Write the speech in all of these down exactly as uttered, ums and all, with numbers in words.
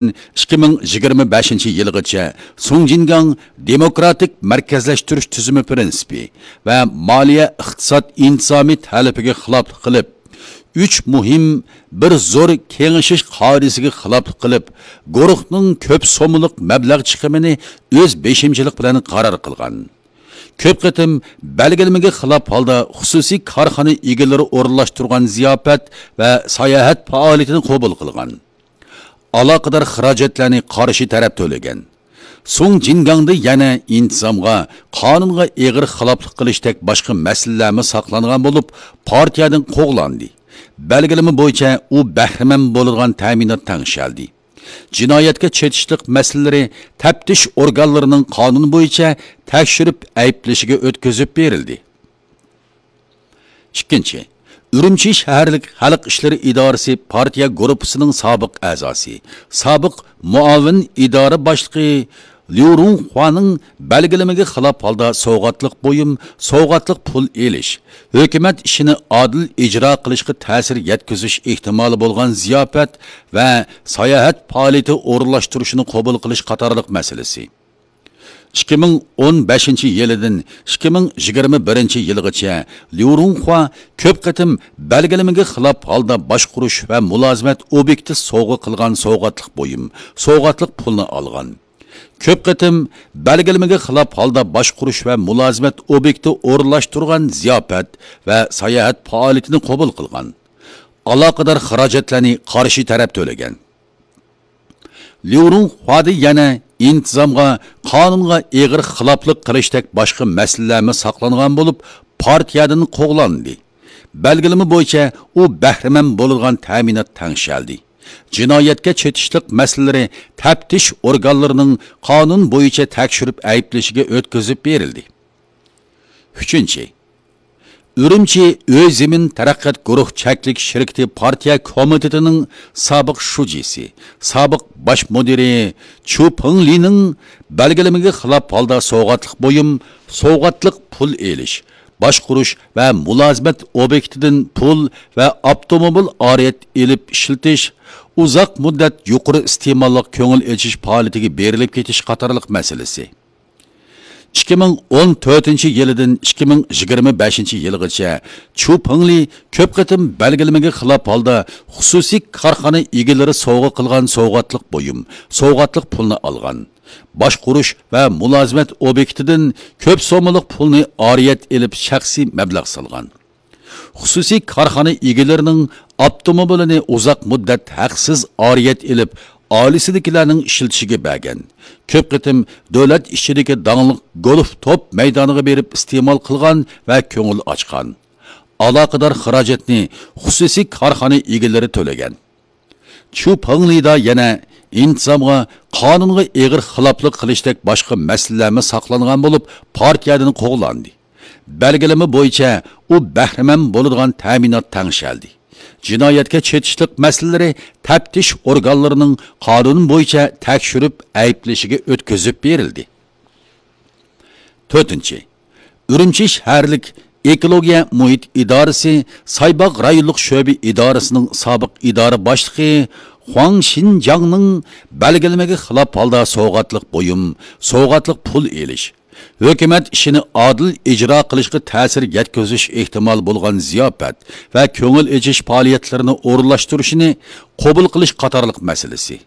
ئىككى مىڭ يىگىرمە بەشىنچى يىلىغىچە سۇڭجىنگاڭ دېموكراتىك مەركەزلەشتۈرۈش تۈزۈمى پىرىنسىپى ۋە مالىيە ئىقتىساد ئىنتىزامى تەلىپىگە خىلاپلىق قىلىپ، ئۈچ مۇھىم، بىر زور كېڭىشىش قائىدىسىگە خىلاپلىق قىلىپ، گۇرۇھنىڭ كۆپ سوممىلىق مەبلەغ چىقىمىنى ئۆز بېشىمچىلىق بىلەن قارار قىلغان. كۆپ قېتىم بەلگىلىمىگە خىلاپ ھالدا خۇسۇسىي كارخانا ئىگىلىرى ئورۇنلاشتۇرغان زىياپەت ۋە ساياھەت پائالىيىتىنى قوبۇل قىلغان. ئالاقىدار خىراجەتلەرنى قارشى تەرەپ تۆلىگەن. سۇڭ جىنگاڭدا يەنە ئىنتىزامغا، قانۇنغا ئېغىر خىلاپلىق قىلىشتەك باشقا مەسىلىلەرمۇ ساقلانغان بولۇپ، پارتىيەدىن قوغلاندى. بەلگىلىمە بويىچە ئۇ بەھرىمەن بولىدىغان تەمىنات تەڭشەلدى. جىنايەتكە چېتىشلىق مەسىلىلىرى تەپتىش ئورگانلىرىنىڭ قانۇن بويىچە تەكشۈرۈپ ئەيىبلىشىگە ئۆتكۈزۈپ بېرىلدى. ئىككىنچى، ئۈرۈمچى شەھەرلىك خەلق ئىشلىرى ئىدارىسى پارتىيە گۇرۇپپىسىنىڭ سابىق ئەزاسى، سابىق مۇئاۋىن ئىدارە باشلىقى ليۇ رۇڭخۇانىڭ بەلگىلىمىگە خىلاپ ھالدا سوۋغاتلىق بۇيۇم، سوۋغاتلىق پۇل ئېلىش، ھۆكۈمەت ئىشىنى ئادىل ئىجرا قىلىشقا تەسىر يەتكۈزۈش ئېھتىمالى بولغان زىياپەت ۋە ساياھەت پائالىيىتى ئورۇنلاشتۇرۇشىنى قوبۇل قىلىش قاتارلىق مەسىلىسى. ئىككى مىڭ ئون بەشىنچى يىلىدىن ئىككى مىڭ يىگىرمە بىرىنچى يىلغىچە ليۇ رۇڭخۇا كۆپ قېتىم بەلگىلىمىگە خىلاپ ھالدا باشقۇرۇش ۋە مۇلازىمەت ئوبيېكتى سوۋغا قىلغان سوۋغاتلىق بۇيۇم، سوۋغاتلىق پۇلنى ئالغان. كۆپ قېتىم بەلگىلىمىگە خىلاپ ھالدا باشقۇرۇش ۋە مۇلازىمەت ئوبيېكتى ئورۇنلاشتۇرغان زىياپەت ۋە ساياھەت پائالىيىتىنى قوبۇل قىلغان. ئالاقىدار خىراجەتلەرنى قارشى تەرەپ تۆلىگەن. ليۇ رۇڭخۇادا يەنە ئىنتىزامغا، قانۇنغا ئېغىر خىلاپلىق قىلىشتەك باشقا مەسىلىلەرمۇ ساقلانغان بولۇپ، پارتىيەدىن قوغلاندى. بەلگىلىمە بويىچە ئۇ بەھرىمەن بولىدىغان تەمىنات تەڭشەلدى. جىنايەتكە چېتىشلىق مەسىلىلىرى تەپتىش ئورگانلىرىنىڭ قانۇن بويىچە تەكشۈرۈپ ئەيىبلىشىگە ئۆتكۈزۈپ بېرىلدى. ئۈچىنچى، ئۈرۈمچى ئۆي زېمىن تەرەققىيات گۇرۇھ چەكلىك شىركىتى پارتىيە كومىتېتىنىڭ سابىق شۇجىسى، سابىق باش مۇدىرى چۇ پېڭلىنىڭ بەلگىلىمىگە خىلاپ ھالدا سوۋغاتلىق بۇيۇم، سوۋغاتلىق پۇل ئېلىش، باشقۇرۇش ۋە مۇلازىمەت ئوبيېكتىدىن پۇل ۋە ئاپتوموبىل ئارىيەت ئېلىپ ئىشلىتىش، ئۇزاق مۇددەت يۇقىرى ئىستېماللىق كۆڭۈل ئېچىش پائالىيىتىگە بېرىلىپ كېتىش قاتارلىق مەسىلىسى. ئىككى مىڭ ئون تۆتىنچى يىلىدىن ئىككى مىڭ يىگىرمە بەشىنچى يىلغىچە چۇ پېڭلى كۆپ قېتىم بەلگىلىمىگە خىلاپ ھالدا خۇسۇسىي كارخانا ئىگىلىرى سوۋغا قىلغان سوۋغاتلىق بۇيۇم، سوۋغاتلىق پۇلنى ئالغان. باشقۇرۇش ۋە مۇلازىمەت ئوبيېكتىدىن كۆپ سوممىلىق پۇلنى ئارىيەت ئېلىپ شەخسىي مەبلەغ سالغان. خۇسۇسىي كارخانا ئىگىلىرىنىڭ ئاپتوموبىلىنى ئۇزاق مۇددەت ھەقسىز ئارىيەت ئېلىپ، ئائىلىسىدىكىلەرنىڭ ئىشلىتىشىگە بەرگەن. كۆپ قېتىم دۆلەت ئىچىدىكى داڭلىق گولف توپ مەيدانىغا بېرىپ ئىستېمال قىلغان ۋە كۆڭۈل ئاچقان. ئالاقىدار خىراجەتنى خۇسۇسىي كارخانا ئىگىلىرى تۆلىگەن. چۇ پېڭلىدا يەنە ئىنتىزامغا، قانۇنغا ئېغىر خىلاپلىق قىلىشتەك باشقا مەسىلىلەرمۇ ساقلانغان بولۇپ، پارتىيەدىن قوغلاندى. بەلگىلىمە بويىچە ئۇ بەھرىمەن بولىدىغان تەمىنات تەڭشەلدى. جىنايەتكە چېتىشلىق مەسىلىلىرى تەپتىش ئورگانلىرىنىڭ قانۇن بويىچە تەكشۈرۈپ ئەيىبلىشىگە ئۆتكۈزۈپ بېرىلدى. تۆتىنچى، ئۈرۈمچى شەھەرلىك ئېكولوگىيە مۇھىت ئىدارىسى سايباغ رايونلۇق شۆبە ئىدارىسىنىڭ سابىق ئىدارە باشلىقى خۇاڭ شىنجاڭنىڭ بەلگىلىمىگە خىلاپ ھالدا سوۋغاتلىق بۇيۇم، سوۋغاتلىق پۇل ئېلىش، ھۆكۈمەت ئىشىنى ئادىل ئىجرا قىلىشقا تەسىر يەتكۈزۈش ئېھتىمالى بولغان زىياپەت ۋە كۆڭۈل ئېچىش پائالىيەتلىرىنى ئورۇنلاشتۇرۇشىنى قوبۇل قىلىش قاتارلىق مەسىلىسى.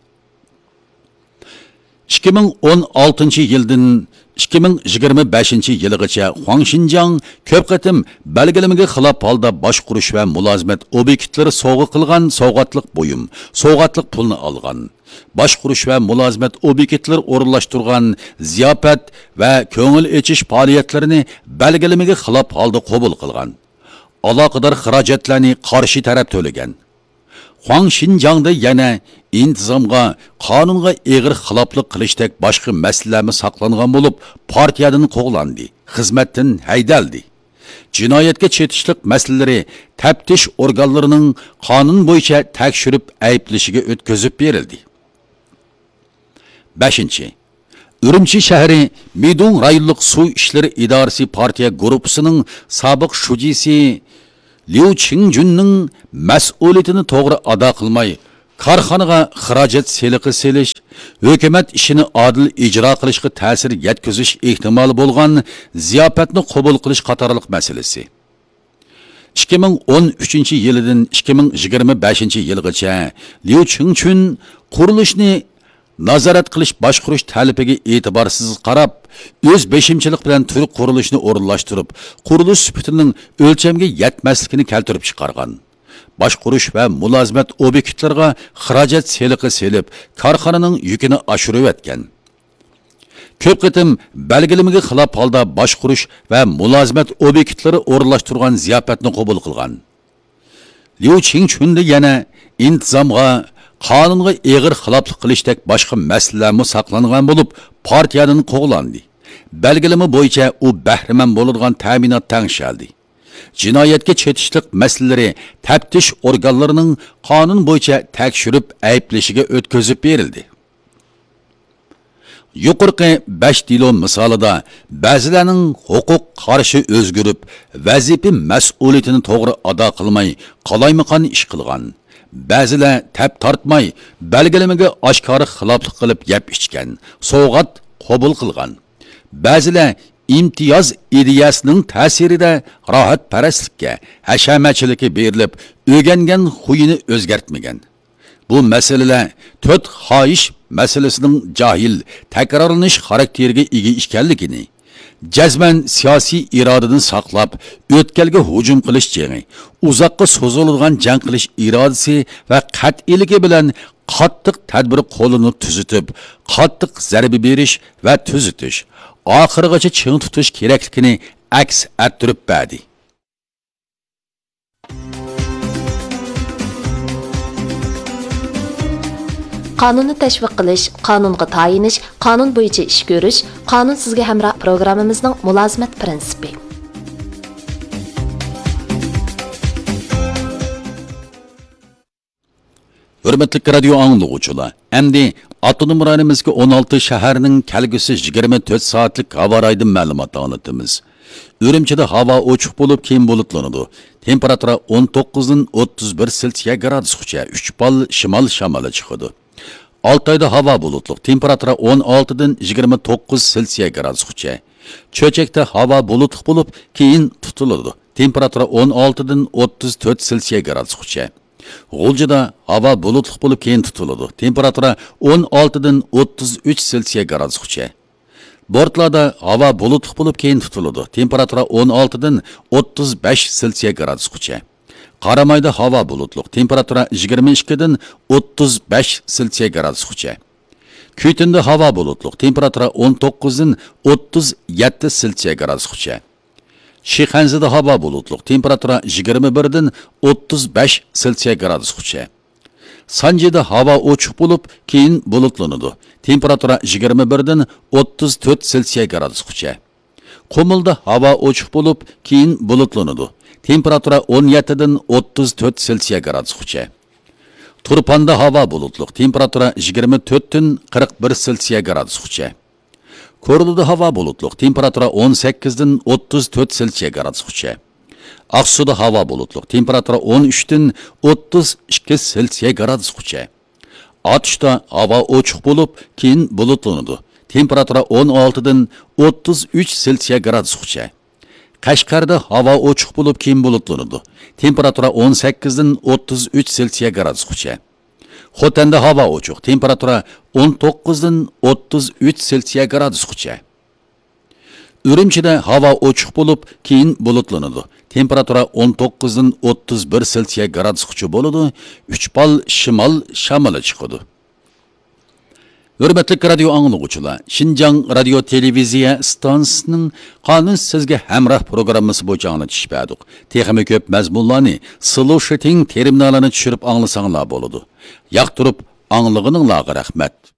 ئىككى مىڭ ئون ئالتىنچى يىلدىن ئىككى مىڭ يىگىرمە بەشىنچى يىلىغىچە خۇاڭ شىنجاڭ كۆپ قېتىم بەلگىلىمىگە خىلاپ ھالدا باشقۇرۇش ۋە مۇلازىمەت ئوبيېكتلىرى سوۋغا قىلغان سوۋغاتلىق بۇيۇم، سوۋغاتلىق پۇلنى ئالغان. باشقۇرۇش ۋە مۇلازىمەت ئوبيېكتلىرى ئورۇنلاشتۇرغان زىياپەت ۋە كۆڭۈل ئېچىش پائالىيەتلىرىنى بەلگىلىمىگە خىلاپ ھالدا قوبۇل قىلغان. ئالاقىدار خىراجەتلەرنى قارشى تەرەپ تۆلىگەن. خۇاڭ شىنجاڭدا يەنە ئىنتىزامغا، قانۇنغا ئېغىر خىلاپلىق قىلىشتەك باشقا مەسىلىلەرمۇ ساقلانغان بولۇپ، پارتىيەدىن قوغلاندى، خىزمەتتىن ھەيدەلدى. جىنايەتكە چېتىشلىق مەسىلىلىرى تەپتىش ئورگانلىرىنىڭ قانۇن بويىچە تەكشۈرۈپ ئەيىبلىشىگە ئۆتكۈزۈپ بېرىلدى. بەشىنچى، ئۈرۈمچى شەھىرى مىدۇڭ رايونلۇق سۇ ئىشلىرى ئىدارىسى پارتىيە گۇرۇپپىسىنىڭ سابىق شۇجىسى ليۇ چىڭجۈننىڭ مەسئۇلىيىتىنى توغرا ئادا قىلماي، كارخانىغا خىراجەت سېلىقى سېلىش، ھۆكۈمەت ئىشىنى ئادىل ئىجرا قىلىشقا تەسىر يەتكۈزۈش ئېھتىمالى بولغان زىياپەتنى قوبۇل قىلىش قاتارلىق مەسىلىسى. ئىككى مىڭ ئون ئۈچىنچى يىلىدىن ئىككى مىڭ يىگىرمە بەشىنچى يىلغىچە ليۇ چىڭچۈن قۇرۇلۇشنى نازارەت قىلىش باشقۇرۇش تەلىپىگە ئېتىبارسىز قاراپ، ئۆز بېشىمچىلىق بىلەن تۈر قۇرۇلۇشنى ئورۇنلاشتۇرۇپ، قۇرۇلۇش سۈپىتىنىڭ ئۆلچەمگە يەتمەسلىكىنى كەلتۈرۈپ چىقارغان. باشقۇرۇش ۋە مۇلازىمەت ئوبيېكتلىرىغا خىراجەت سېلىقى سېلىپ، كارخانىنىڭ يۈكىنى ئاشۇرۇۋەتكەن. كۆپ قېتىم بەلگىلىمىگە خىلاپ ھالدا باشقۇرۇش ۋە مۇلازىمەت ئوبيېكتلىرى ئورۇنلاشتۇرغان زىياپەتنى قوبۇل قىلغان. ليۇ چىڭچۈندە يەنە ئىنتىزامغا، قانۇنغا ئېغىر خىلاپلىق قىلىشتەك باشقا مەسىلىلەرمۇ ساقلانغان بولۇپ، پارتىيەدىن قوغلاندى. بەلگىلىمە بويىچە ئۇ بەھرىمەن بولىدىغان تەمىنات تەڭشەلدى. جىنايەتكە چېتىشلىق مەسىلىلىرى تەپتىش ئورگانلىرىنىڭ قانۇن بويىچە تەكشۈرۈپ ئەيىبلىشىگە ئۆتكۈزۈپ بېرىلدى. يۇقىرىقى بەش دېلو مىسالىدا بەزىلەرنىڭ ھوقۇق قارىشى ئۆزگىرىپ، ۋەزىپە مەسئۇلىيىتىنى توغرا ئادا قىلماي، قالايمىقان ئىش قىلغان. بەزىلەر تەپ تارتماي، بەلگىلىمىگە ئاشكارا خىلاپلىق قىلىپ يەپ ئىچكەن، سوۋغات قوبۇل قىلغان. بەزىلەر ئىمتىياز ئىدىيەسىنىڭ تەسىرىدە راھەتپەرەسلىككە، ھەشەمەتچىلىككە بېرىلىپ، ئۆگەنگەن خۇيىنى ئۆزگەرتمىگەن. بۇ مەسىلىلەر تۆت خاھىش مەسىلىسىنىڭ جاھىل، تەكرارلىنىش خاراكتېرىگە ئىگە ئىكەنلىكىنى، جەزمەن سىياسىي ئىرادىنى ساقلاپ، ئۆتكەلگە ھۇجۇم قىلىش جېڭى، ئۇزاققا سوزۇلىدىغان جەڭ قىلىش ئىرادىسى ۋە قەتئىيلىكى بىلەن قاتتىق تەدبىر قوللىنىپ تۈزىتىپ، قاتتىق زەربە بېرىش ۋە تۈزىتىش، ئاخىرىغىچە چىڭ تۇتۇش كېرەكلىكىنى ئەكس ئەتتۈرۈپ بەردى. قانۇننى تەشۋىق قىلىش، قانۇنغا تايىنىش، قانۇن بويىچە ئىش كۆرۈش، قانۇن سىزگە ھەمراھ پروگراممىمىزنىڭ مۇلازىمەت پىرىنسىپى. ھۆرمەتلىك رادىيو ئاڭلىغۇچىلار، ئەمدى ئاپتونوم رايونىمىزدىكى ئون ئالتە شەھەرنىڭ كەلگۈسى يىگىرمە تۆت سائەتلىك ھاۋا رايىدىن مەلۇمات ئاڭلىتىمىز. ئۈرۈمچىدە ھاۋا ئوچۇق بولۇپ، كېيىن بۇلۇتلىنىدۇ. تېمپېراتۇرا ئون توققۇزدىن ئوتتۇز بىر سېلسىيە گرادۇسقىچە، ئۈچ بال شىمال شامىلى چىقىدۇ. ئالتايدا ھاۋا بۇلۇتلۇق، تېمپېراتۇرا ئون ئالتىدىن يىگىرمە توققۇز سېلسىيە گرادۇسقىچە. چۆچەكتە ھاۋا بۇلۇتلۇق بولۇپ، كېيىن تۇتۇلىدۇ. تېمپېراتۇرا ئون ئالتىدىن ئوتتۇز تۆت سېلسىيە گرادۇسقىچە. غۇلجىدا ھاۋا بۇلۇتلۇق بولۇپ، كېيىن تۇتۇلىدۇ. تېمپېراتۇرا ئون ئالتىدىن ئوتتۇز ئۈچ سېلسىيە گرادۇسقىچە. بورتلادا ھاۋا بۇلۇتلۇق بولۇپ، كېيىن تۇتۇلىدۇ. تېمپېراتۇرا ئون ئالتىدىن ئوتتۇز بەش سېلسىيە گرادۇسقىچە. قارامايدا ھاۋا بۇلۇتلۇق. تېمپېراتۇرا يىگىرمە ئىككىدىن ئوتتۇز بەش سېلسىيە گرادۇسقىچە. كۈيتۈندە ھاۋا بۇلۇتلۇق. تېمپېراتۇرا ئون توققۇزدىن ئوتتۇز يەتتە سېلسىيە گرادۇسقىچە. شىخەنزىدە ھاۋا بۇلۇتلۇق، تېمپېراتۇرا يىگىرمە بىردىن ئوتتۇز بەش سېلسىيە گرادۇسقىچە. سانجىدا ھاۋا ئوچۇق بولۇپ، كېيىن بۇلۇتلىنىدۇ، تېمپېراتۇرا يىگىرمە بىردىن ئوتتۇز تۆت سېلسىيە گرادۇسقىچە. قۇمۇلدا ھاۋا ئوچۇق بولۇپ، كېيىن بۇلۇتلىنىدۇ، تېمپېراتۇرا ئون يەتتىدىن ئوتتۇز تۆت سېلسىيە گرادۇسقىچە. تۇرپاندا ھاۋا بۇلۇتلۇق، تېمپېراتۇرا يىگىرمە تۆتتىن قىرىق بىر سېلسىيە گرادۇسقىچە. كورلىدا ھاۋا بۇلۇتلۇق، تېمپېراتۇرا ئون سەككىزدىن ئوتتۇز تۆت سېلسىيە گرادۇسقىچە. ئاقسۇدا ھاۋا بۇلۇتلۇق، تېمپېراتۇرا ئون ئۈچتىن ئوتتۇز ئىككى سېلسىيە گرادۇسقىچە. ئاتۇشتا ھاۋا ئوچۇق بولۇپ، كېيىن بۇلۇتلىنىدۇ، تېمپېراتۇرا ئون ئالتىدىن ئوتتۇز ئۈچ سېلسىيە گرادۇسقىچە. قەشقەردە ھاۋا ئوچۇق بولۇپ، كېيىن بۇلۇتلىنىدۇ، تېمپېراتۇرا ئون سەككىزدىن ئوتتۇز ئۈچ سېلسىيە گرادۇسقىچە. خوتەندە ھاۋا ئوچۇق، تېمپېراتۇرا ئون توققۇزدىن ئوتتۇز ئۈچ سېلسىيە گرادۇسقىچە. ئۈرۈمچىدە ھاۋا ئوچۇق بولۇپ، كېيىن بۇلۇتلىنىدۇ، تېمپېراتۇرا ئون توققۇزدىن ئوتتۇز بىر سېلسىيە گرادۇسقىچە بولىدۇ، ئۈچ بال شىمال شامىلى چىقىدۇ. ھۆرمەتلىك رادىيو ئاڭلىغۇچىلار، شىنجاڭ رادىيو تېلېۋىزىيە ئىستانسىسىنىڭ قانۇن سىزگە ھەمراھ پروگراممىسى بويىچە ئاڭلىتىش بەردۇق. تېخىمۇ كۆپ مەزمۇنلارنى سلوشىتىڭ تېرمىنالىنى چۈشۈرۈپ ئاڭلىساڭلار بولىدۇ. ياقتۇرۇپ ئاڭلىغىنىڭلارغا رەھمەت.